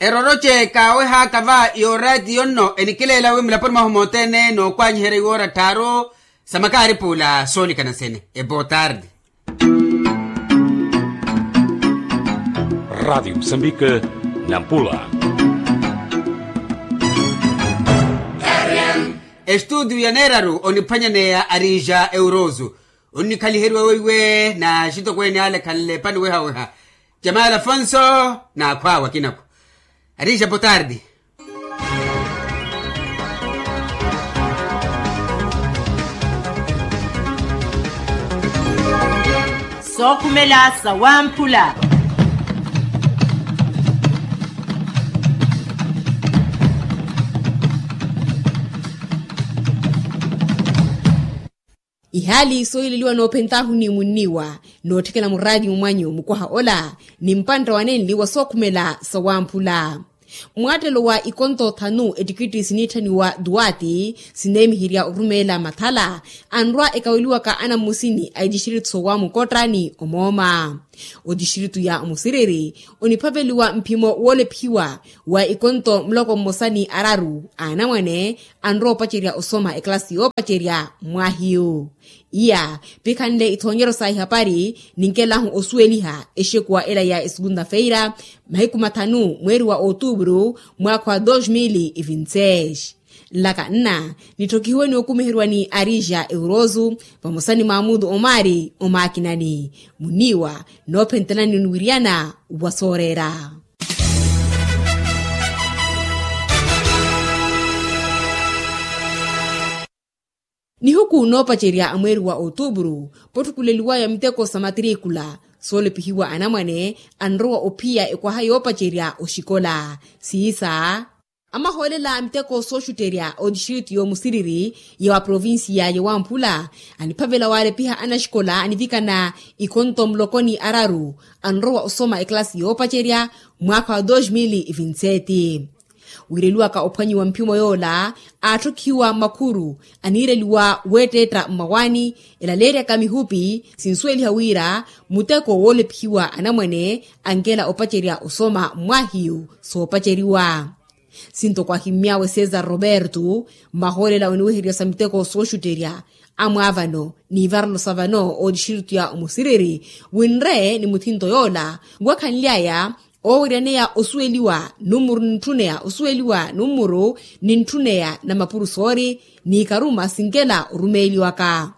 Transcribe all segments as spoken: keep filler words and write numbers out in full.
Eroroce kaawehaaka va yooraatiyo nno enikileela wi mulaponi mwahu mothene nookwaanyiherya iwoora tthaaru. Sa makaaripuula soonikana sene ebotardi. Radiyo musambika nampula. Estuudiyo ya neeraru oniphwanyaneya arija eurosu. Onnikhaliheriwa weiwe na axitokweene ale khanle pani wehaweha. Jamali afonso n'akhwaawe akinakhu. Arija botardi. Sookhumela sawamphula. Ihaali soohileliwa noophentaahu ni munniwa nootthikela muraatimu mwanyu mukwaha ola ni mpantta wanenli wa sookhumela sawamphula. Mwaattelo wa ikonto thanu ettikitti siniitthaniwa duwaati sineemiherya orumeela mathala anrwa ekaweliwaka anammusini a etistritu soowamu kottrani omooma. Otistritu ya omusiriri oniphaveliwa mphimo woolephiwa wa ikonto muloko mmosa ni araru a anamwane anrowa opacerya osoma ekilasi yoopacerya mwaahiyu. Iya pikhanle ithoonyeryo sa ihapari ninkelahu osuweliha exekuwa ela ya esegunda feira mahiku mathanu mweeri wa otuupuru mwaakha wa dos mil e vinti seis. Nlaka nna nitthokihiwe ni okumiheriwa ni arija eurosu vamosa ni maamutu omaari omaakinani muniiwa noophentelani oniwiriyana wa sooreera. Nihuku noopacerya a mweeri wa otuupuru potthukuleliwaya miteko sa matirikula soolepihiwa anamwane anrowa ophiya ekwaha yoopacerya oxikola siisa. Amahoolela a miteko sooxutterya otistritu yoomusiriri ya wa provincia ya wamphula aniphavela waalepiha anaxikola anivikana ikhonto muloko ni araru anrowa osoma ekilasi yoopacerya mwaakha wa dos mil e vinti sete. Wiireliwaka ophwanyiwa mphimo yoola aatthokhiwa makhuru aniireliwa weetteetta mmawaani elaleeryaka mihupi sinsuweliha wira muteko woolephiwa anamwane ankela opacerya osoma mmwaahiyu soopaceriwa. Sintoko ahimmy'awe cesar roberto mmahoolela oniwehererya sa miteko sooxutterya amwaavano n'ivarelo sa vano ootixirito ya omusiriri winre ni muthinto yoola wakhanly'aya oowiryaneya osuweliwa nummuru nintthuneya osuweliwa nummuru nintthuneya na mapurusoori n'ikaruma sinkela orumeeliwaka.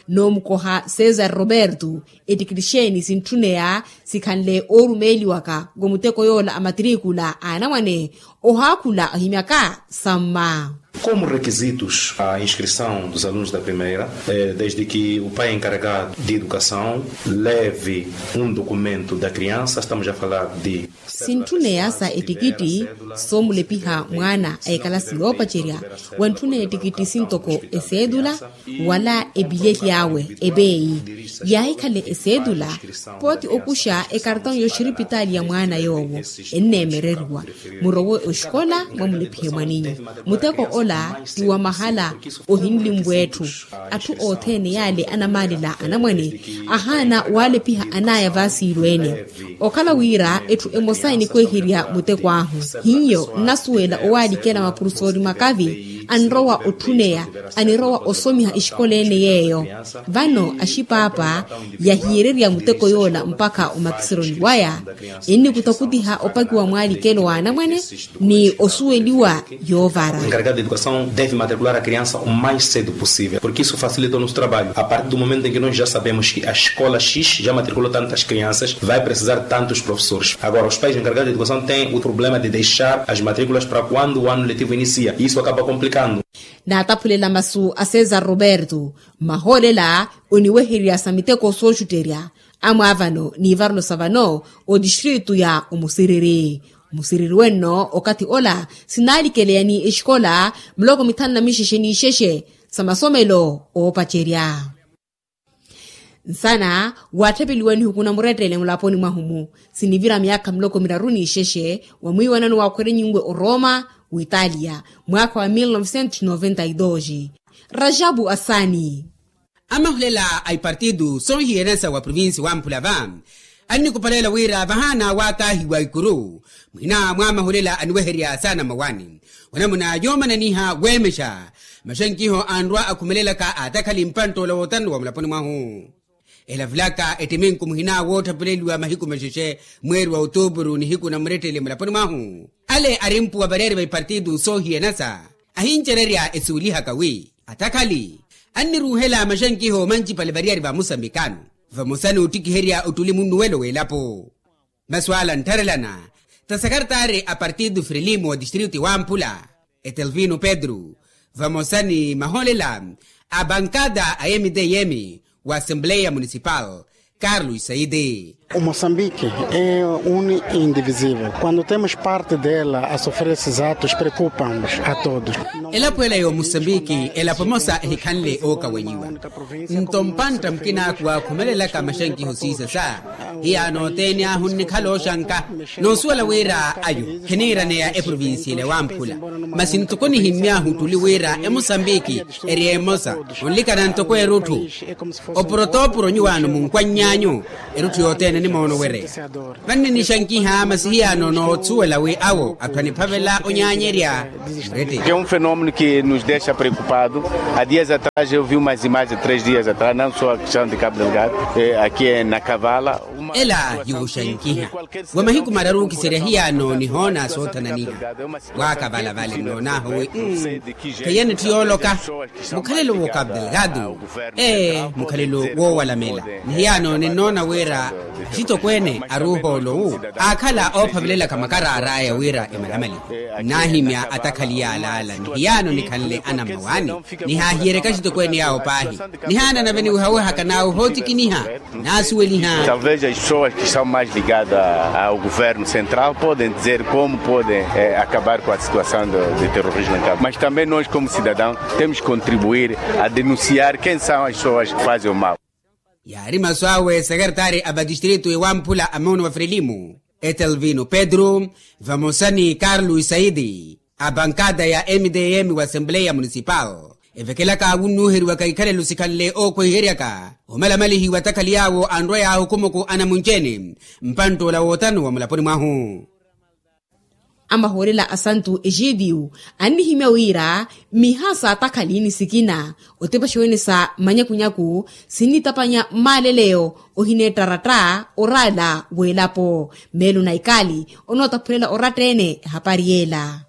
Noomukoha cesar roberto ettikitixeeni sintthunneya sikhanle oorumeeliwaka wa muteko yoola a matirikula a anamwane ohaakhula ohimyaka samma. Como requisitos a inscrição dos alunos da primeira, desde que o pai encarregado de educação leve um documento da criança, estamos a falar de sintthunneya sa ettikitti soomulepiha mwaana a ekalasi yoopacerya wantthunneya ettikitti sintoko eseedula wala epilyeli awe epeeyi yaahikhale eseedula pooti okuxa ekartão y'oxiripitaali ya mwaana yoowo enneemereriwa murowe oxikola mwamulephihe mwaninyu muteko ola ti wa mahala ohinlimvwa etthu atthu othene yaale anamaalela anamwane ahaana waalepiha anaaya vaasiilweene okhala wira etthu emosa enikweherya muteko ahu hiyo nnasuwela owaalikela mapurusoori makavi anrowa otthuneya anirowa osomiha exikola ene yeeyo vano axipaapa yahiyererya muteko yoola mpakha omakiseroni waya ennikutakhutiha opakiwa mwaalikelo wa anamwane ni osuweliwa yoovara. Encarregado de educação deve matricular a criança o mais cedo possível porque isso facilita o nosso trabalho a partir do momento em que nós já sabemos que a escola x já matriculou tantas crianças vai precisar tantos professores agora os pais encarregados de educação têm o problema de deixar as matrículas para quando o ano letivo inicia isso acaba complicando. Naataphulela masu a cesar roberto mmahoolela oniwehererya sa miteko sooxutterya amwaavano n'ivarelo sa vano otistritu ya omusiriri musiriri wenno okathi ola sinaalikeleya ni exikola muloko mithanu na mixexe n'ixexe sa masomelo oopacerya. Nsana waatthepeliwa nihuku na murettele mulaponi mwahu-mu sinivira myaakha muloko miraru n'ixexe wa mwiiwanano waakhwerenyinwe oroma w'italia mwaakha wa mil novecentos noventa e dos. Rajabu asani. Amahulela a ipartidu soohiyeransa wa provincia wamphula va Annikupaleela wira vahaana waataahiwa ikuru, muhina mwa mahulela aniweherya saana mawani, onamuna yoomananiha weemexa maxankiho anrwa akhumelelaka atakhali mpanttoola wootanu wa mulaponi mwahu. Elavulaka ettiminku muhina woottapuleliwa mahiku maxexe, mweeri wa otuupuru nihiku na murettele mulaponi mwahu. Ale arimpuwa vareeri va ipartitu soohiyanasa ahincererya esuwelihaka wi atakhali anniruuhela maxankiho mancipale variyari va musambikano, vamosa n'uttikiherya ottuli munnuwelo w'elapo. Masu ala nttharelana ta sakartaari a partitu frelimo wa tistritu ewamphula, etelvino pedro, vamosa ni mahoolela a bankada a mtm wa assembleya municipal, carlos saidi. O moçambique é um indivisivel quando temos parte dela a sofrer esses atos preocupa-nos a todos. Elapo ela y'omusambiki elapo emosa ehikhanle ookawenyiwa. Nto mpantta mukinaku waakhumelelaka maxankiho siisasa, hiyaano othene ahu nnikhala ooxanka, noosuwela wira ayo khiniiraneya eprovincia ela ewamphula. Masi ntoko nihimmyahu ottuli wira emosambiki eri emosa, onlikana ntoko erutthu. Opurotoopuro nyuwaano munkwanny'anyu, erutthu yothene nimoono wereya. Vanninixankiha masi hiyaano noosuwela wi awo atthu aniphavela onyaanyerya. Murette. É um fenômeno que nos deixa preocupado. Há dias atrás eu vi umas imagens, três dias atrás, não só a questão de Cabo Delgado, aqui na Cavala. Ela yuuxankiha wa mahiku mararu okiserya hiyaano nihoona soothananiha. Waakavala vale nnoonahu wi, mm, kheyene etthu yooloka. Mukhalelo w'okabdelgado ee mukhalelo woowalamela. Ni hiyaano ninnoona wira axitokweene aruuhoolo wu aakhala oophavelelaka makaraar'aya wira emalamaliwe. Nnaahimya atakhali yaalaala ni hiyaano nikhanle anammawaani. Nihaahiyeryaka axitokweene yaawo paahi. Nihaana nave niwihawihaka n'awo ohootikiniha. Naasuweliha. Talvez as pessoas que estão mais ligadas ao governo central podem dizer como podem acabar com a situação de terrorismo em Cabo, mas também nós como cidadãos temos que contribuir a denunciar quem são as pessoas que fazem o mal. Yaari masu awe sekertaari a vatistritu ewamphula a muna wa frelimo, etelvino pedro, vamosa ni carlos saidi. A bankada ya mtm wa assembleya municipal evekelaka wunnuuheriwaka ikhalelo sikhanle ookwehiheryaka omalamalihiwa atakhali yaawo anrwa yaahukumuku anamunci-ene mpantt'ola wootanu wa mulaponi mwahu. Amahoolela a santu exidiu annihimya wira miha s'atakhali ni sikina otepaxiwene sa manyakunyaku sinnitapanya mmaaleleyo ohineettaratta oraala w'elapo. Meelo na ikaali onootaphulela oratta-ene ehapari y'ela.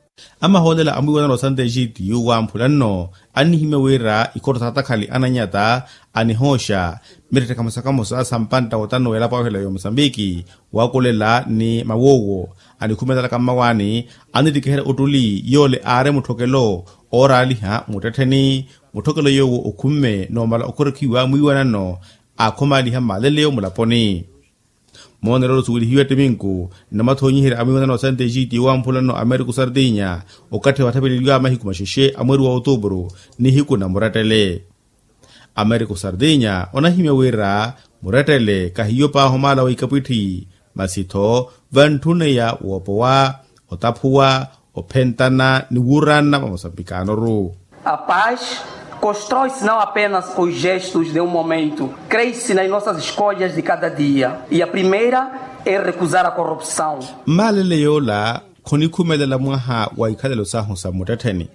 Amahoolela a mwiiwanano wa santa exiti yuuwamphula nno annihimya wira ikhotto s'atakhali ananyata anihooxa mirettekha mosa kamosa sa mpantta wotano w'elapo awe ohela y'omusambiki. Waakulela ni mawoowo anikhumelelaka mmawaani annittikiherya ottuli yoole aari mutthokelo ooraaliha muttettheni. Mutthokelo yoowo okhumme noomala okhorekhiwa mwiiwanano aakhomaaliha mmaaleleyo mulaponi. Moonelo osuwelihiwe ttiminku nnamathoonyiherya a mwiiwanano wa santa exiti yowamphula nno ameriko sardinya okathi watthapeleliwa mahiku maxexe a mweeri wa otuupuru nihiku na murettele. Ameriko sardinya onahimya wira murettele kahiyo paahi omaala wa ikapwitthi masi-tho vantthuneya woopowa, otaphuwa, ophentana ni wuuranna mwa mosambikanoru. A paz constrói-se não apenas com os gestos de um momento, crê-se nas nossas escolhas de cada dia e a primeira é recusar a corrupção. Mmaalele yoola khonikhumelela mwaha wa ikhalelo sahu sa muttettheni.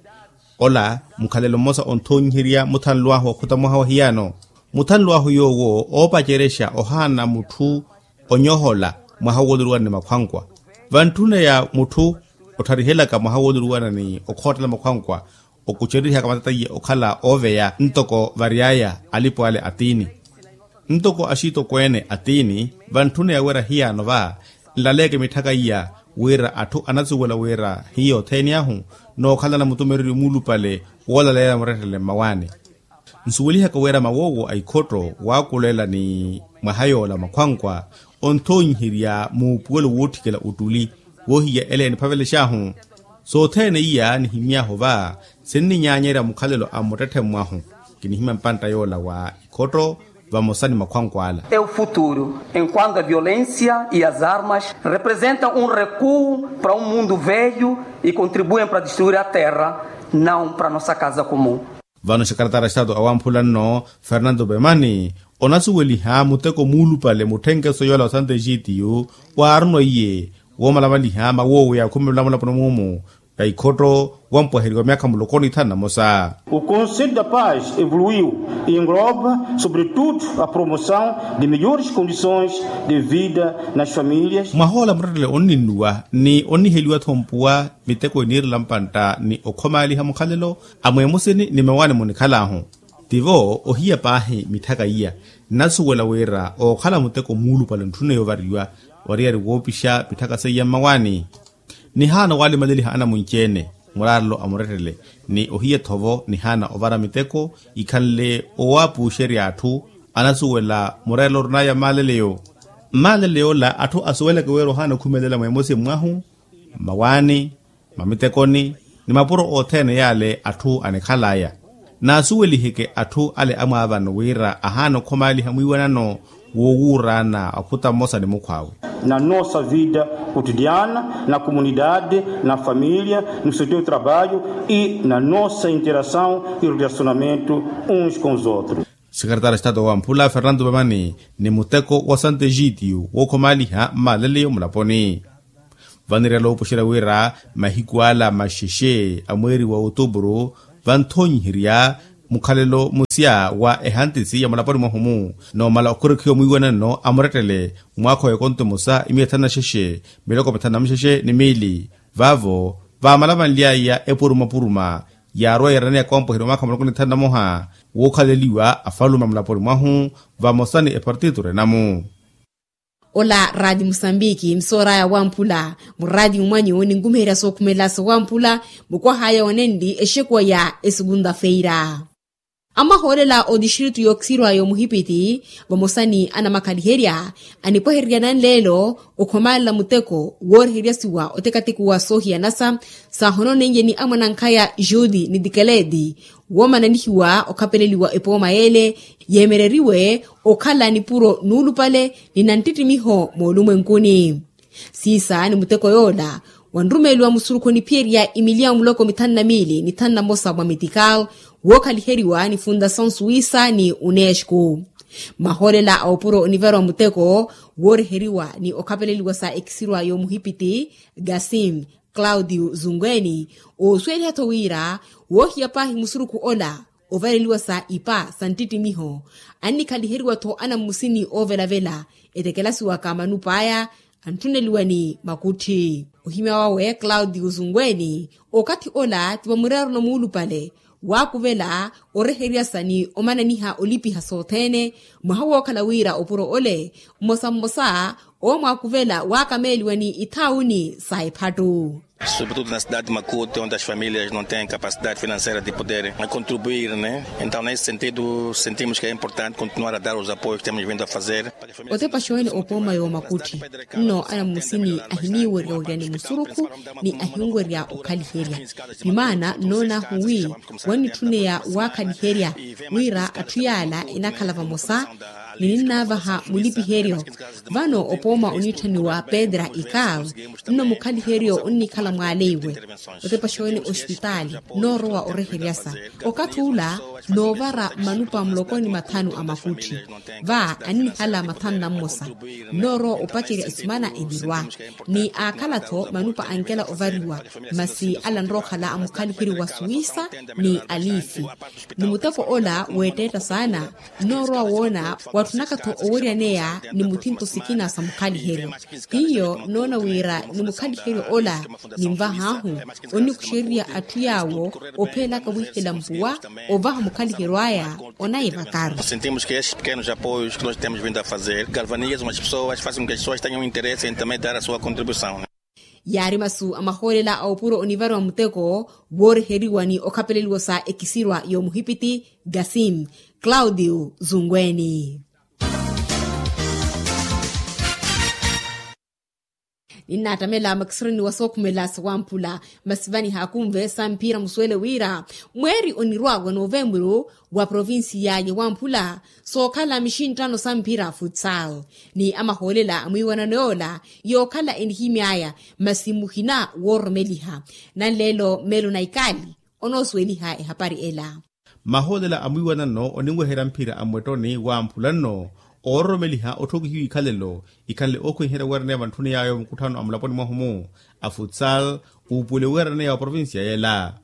Ola mukhalelo mmosa onthoonyiherya muthanlu ahu okhota mwaha wa hiyano. Muthanlu ahu yoowo oopacerexa ohaana mutthu onyohola mwaha wooluruwana ni makhwankwa. Vantthuneya mutthu ottharihelaka mwaha wooluruwana ni okhootela makhwankwa okucererihaka matata iye okhala ooveya ntoko vary'aya alipo ale atiini. Ntoko axitokweene atiini vantthuna yawerya hiyano va nlaleeke mitthaka iya wira atthu anasuwela wira hiyo othene ahu nookhalana mutumereryo muulupale woolaleela murettele mmawaani. Nsuwelihaka wira mawoowo a ikhotto waakulela ni mwaha yoola makhwankwa onthoonyiherya muupuwelo wootthikela ottuli woohiya ele eniphavelex'ahu. Sothene iya nihimy'ahu va sinninyaanyerya mukhalelo a mmuttetthe mmwahu. Kinihimya mpantta yoola wa ikhotto vamosa ni makhwankwa ala. É o futuro enquanto a violência e as armas representam um recuo para um mundo velho e contribuem para destruir a terra, não para nossa casa comum. Vano xakaratara xitato awamphula nno fernando pemani Onasuweliha muteko muulupale mutthenkeso yoola wa santexitiyu, waarunwa iye woomalamaliha mawoowe ya khumi na mulaponi muumu, ya ikhotto wampwaheriwa myaakha muloko ni thanu na mosa. O conselho da paz evoluiu e engloba sobretudo a promoção de melhores condições de vida nas famílias. Mwahoola muttettele onninnuwa ni onniheliwa-tho mpuwa miteko eniirela mpantta ni okhomaaliha mukhalelo a mweemusini ni mawaani munikhalaahu. Tivo ohiya paahi mitthaka iya nnasuwela wira ookhala muteko muulupale ntthune yoovariwa, oriyari woopixa mitthaka seiya mmawaani. Nihaana waalimaleliha anamunci-ene muraarelo a murettele, ni ohiya-tho vo nihaana ovara miteko ikhanle owaapuuxerya atthu anasuwela mureerelo orinaya mmaaleleyo. Mmaaleleyo ola atthu asuweleke wira ohaana okhumelela mweemosi mwahu mmawaani, mamitekoni, ni mapuro othene yaale atthu anikhalaya. Naasuweliheke atthu ale amwaavano wira ahaana okhomaaliha mwiiwanano woowuuraana okhuta mmosa ni mukhwaawe. Na nossa vida cotidiana na comunidade na família no seu trabalho e na nossa interação e relacionamento uns com os outros. Sekaretari a estado wamphula fernando mamani ni muteko wa santexitiyu wookhomaaliha mmaaleleyo mulaponi. Vanirela oopuxerya wira mahiku ala maxexe a mweeri wa otuburu, vanthonyiherya mukhalelo musya wa ehantisi ya mulaponi mwahu-mu noomala okhurekhiwa mwiiwanano a murettele mwaakha wa ekonto emosa imiya thanu na xexe miloko mithanu na muxexe ni miili. Vaavo vaamalavanly'aya epurumapuruma yaarowa yeeraneya koompweheriwa mwaakha muloko ni thanu na moha wookhaleliwa afalume a mulaponi mwahu vamosa ni epartito renamu. Ola rati musambiki msooraya wamphula murati mumwanyu ninkumiherya sookhumelela sowamphula mukwahaya onenli exekuwa ya esukunta feira. Amahoolela otistritu yookisirwa yomuhipiti vamosa ni anamakhaliherya anipwehererya nanleelo okhomaalela muteko wooreheryasiwa otekatekuwa soohiyanasa saahononenye ni amwanankhaya juti ni tikeleti woomananihiwa okhapeleliwa epooma yeele yeemereriwe okhala nipuro nuulupale ni nanttittimiho moolumwenkuni. Siisa ni muteko yoola wanrumeeliwa musurukhu oniphiyerya imiliya muloko mithanu na miili ni thanu na mosa mwa mitikaw wookhaliheriwa ni fundasaw suwisa ni unesco. Mahoolela a opuro onivariwa muteko wooreheriwa ni okhapeleliwa sa ekisirwa yoomuhipiti gasim claudio zungweni oosuweliha-tho wira woohiya paahi musurukhu ola ovareliwa sa ipa sa nttittimiho annikhaliheriwa-tho anammusini oovelavela etekelasiwaka manup'aya antthuneliwa ni makutthi. Ohimya wawe claudio zungweni okathi ola ti vamureerelo muulupale waakuvela oreheryasa ni omananiha olipiha sothene mwaha wookhala wira opuro ole mmosa mmosa oomwaakuvela waakameeliwa ni ithaawuni sa ephattu. Sobretudo na cidade de makuti onde as famílias não tem capacidade financeira de poder contribuir né. Então nesse sentido sentimos que é importante continuar a dar os apoios que temos vindo a fazer. Otepaxa wene opooma yoomakutthi nno anammusini ahiniiwerya orya ni musurukhu ni ahinwerya okhaliherya. Ni maana nnoon'ahu wi wannitthuneya waakhaliherya wira atthu yaala enakhala vamosa ni ninnaavaha mulipiheryo. Vano opooma oniitthaniwa pedra ikaw nno mukhaliheryo onnikhala mwaaleiwe otepaxa wene ospitaali nnoorowa oreheryasa okathi ula noovara manupa muloko ni mathanu a makutthi va annihala mathanu na mmosa nnoorowa opacerya esimana enirwa ni aakhala-tho manupa ankela ovariwa masi ala nrookhala a mukhaliheryo wa suwisa ni alifi ni muteko ola weetteetta saana nnoorowa woona watthunaka-tho oweryaneya ni muthinto sikina sa mukhaliheryo hiyo nnoona wira ni mukhaliheryo ola ninvah'ahu onnikuxererya atthu yaawo opheelaka wiihela mpuwa ovaha mukhaliheryo aya onayivakaru. Sentimos que estes pequenos apoios que nós temos vindo a fazer galvanizam as pessoas fazem com que as pessoas tenham interesse em também dar a sua contribuição. Yaari masu a mahoolela a opuro onivariwa muteko wooreheriwa ni okhapeleliwa sa ekisirwa yoomuhipiti gasim claudio zungweni. Ninnaattamela makisironi wa sookhumela sawamphula masi vaniha akunve samphira musuwele wira mweeri onirwa wa novemburu wa provincia ya wamphula sookhala mixinttano samphira futsal ni amahoolela a mwiiwanano yoola yookhala enihimy'aya masi muhina woororomeliha nanleelo meelo na ikali onoosuweliha ehapari ela. Mahoolela a mwiiwanano oninweherya mphira a mmwettoni wamphula nno oororomeliha otthokihiwa ikhalelo ikhanle ookhwiherya weeraneya vantthuni yaayo mukutthano a mulaponi mwahu-mu a futsal uupuweliwe weeraneya wa provincia yela.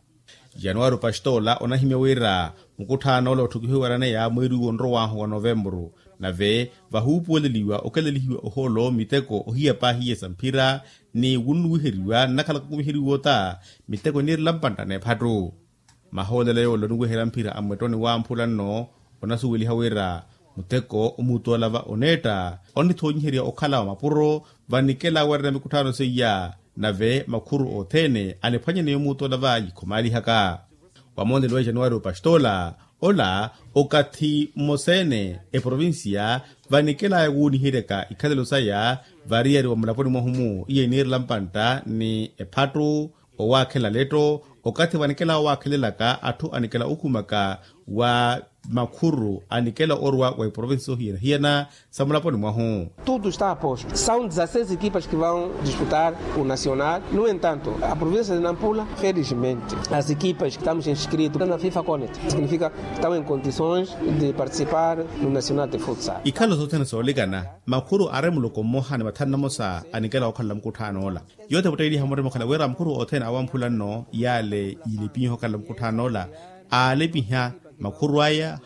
Januwari opastoola onahimya wira mukutthano ola otthokihiwe weeraneya mweeri uwo onrow'ahu wa novempuru nave vahuupuweleliwa okelelihiwa ohoolo miteko ohiya paahi iye sa mphira ni wunnuwiheriwa nnakhalaka okumiheriwa ota miteko eniirela mpantta n'ephattu. Mahoolelo yoola oniweherya mphira a mmwettoni wamphula nno onasuweliha wira muteko omuutola va oneetta onithoonyiherya okhala wa mapuro vanikela weerana mikutthano seiya nave makhuru othene aniphwanyaneya omuutola va yikhomaalihaka. Wamoonelo wa januwari opastoola ola okathi mmosa-ene eprovincia vanikelaya wuuniheryaka ikhalelo saya variyari wa mulaponi mwahu-mu iye eniirela mpantta ni ephattu owaakhela letto okathi vanikela owaakhelelaka atthu anikela okhumaka wa makhuru anikela orwa wa iprovinsi sohiyana-hiyana sa mulaponi mwahu. Tudo está aposto são dezasseis equipas que vão disputar o nacional no entanto a provincia de nampula felizmente as equipas que estamos inscritos na fifa conet significa estão em condições de participar no nacional de futsal. Ikhalo sothene soolikana makhuru aari muloko mmoha ni mathanu namosa anikela okhalela mukutthano ola. Yoothe votteeliha murima okhala wira makhuru othene awamphula nno yaale yiilipinyiha okhalela mukutthano ola aalipiha makhuru aya.